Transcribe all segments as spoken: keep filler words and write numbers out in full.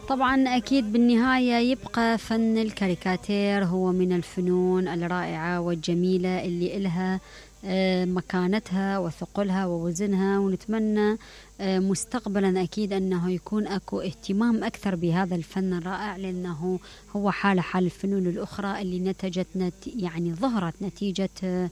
طبعا أكيد بالنهاية يبقى فن الكاريكاتير هو من الفنون الرائعة والجميلة اللي إلها مكانتها وثقلها ووزنها، ونتمنى مستقبلا أكيد أنه يكون أكو اهتمام أكثر بهذا الفن الرائع، لأنه هو حال حال الفنون الأخرى اللي نتجت نت يعني ظهرت نتيجة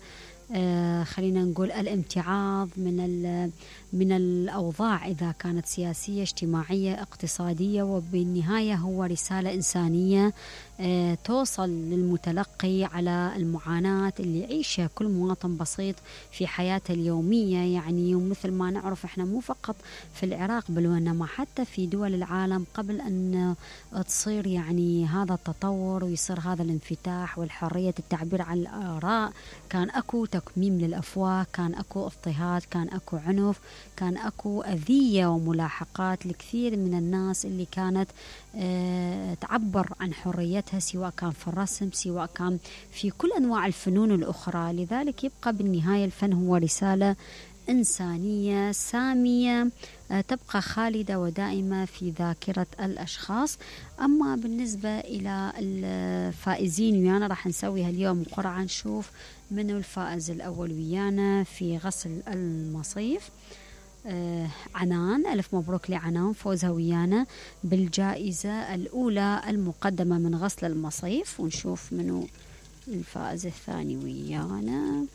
آه خلينا نقول الامتعاض من من الأوضاع، إذا كانت سياسية اجتماعية اقتصادية، وبالنهاية هو رسالة إنسانية آه توصل للمتلقي على المعاناة اللي يعيشها كل مواطن بسيط في حياته اليومية. يعني ومثل ما نعرف احنا مو فقط في العراق بل وإنما حتى في دول العالم قبل أن تصير يعني هذا التطور ويصير هذا الانفتاح والحرية التعبير عن الآراء، كان أكو تكميم للأفواه، كان أكو اضطهاد، كان أكو عنف، كان أكو أذية وملاحقات لكثير من الناس اللي كانت أه تعبر عن حريتها، سواء كان في الرسم سواء كان في كل أنواع الفنون الأخرى. لذلك يبقى بالنهاية الفن هو رسالة إنسانية سامية أه تبقى خالدة ودائمة في ذاكرة الأشخاص. أما بالنسبة إلى الفائزين ويانا راح نسويها اليوم قرعة، نشوف منو الفائز الأول ويانا في غسل المصيف. آه عنان، ألف مبروك لعنان، فوزها ويانا بالجائزة الأولى المقدمة من غسل المصيف. ونشوف منو الفائز الثاني ويانا.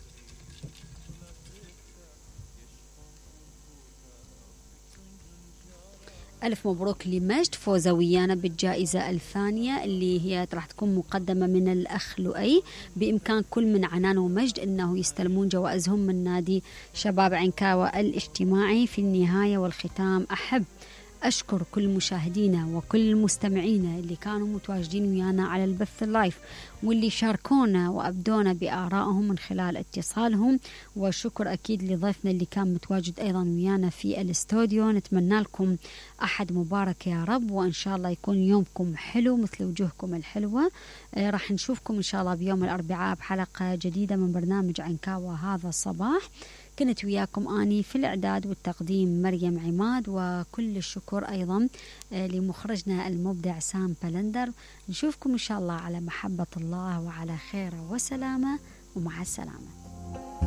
ألف مبروك لمجد، فوزة ويانا بالجائزة الثانية اللي هي راح تكون مقدمة من الأخ لؤي. بإمكان كل من عنان ومجد أنه يستلمون جوائزهم من نادي شباب عنكاوة الاجتماعي. في النهاية والختام أحب أشكر كل مشاهدينا وكل المستمعين اللي كانوا متواجدين ويانا على البث اللايف، واللي شاركونا وأبدونا بآرائهم من خلال اتصالهم. وشكر أكيد لضيفنا اللي كان متواجد أيضا ويانا في الاستوديو. نتمنى لكم أحد مبارك يا رب، وإن شاء الله يكون يومكم حلو مثل وجوهكم الحلوة. آه راح نشوفكم إن شاء الله بيوم الأربعاء بحلقة جديدة من برنامج عنكاوة هذا الصباح. كنت وياكم أني في الإعداد والتقديم مريم عماد، وكل الشكر أيضا لمخرجنا المبدع سام بلندر. نشوفكم إن شاء الله على محبة الله وعلى خير وسلامة، ومع السلامة.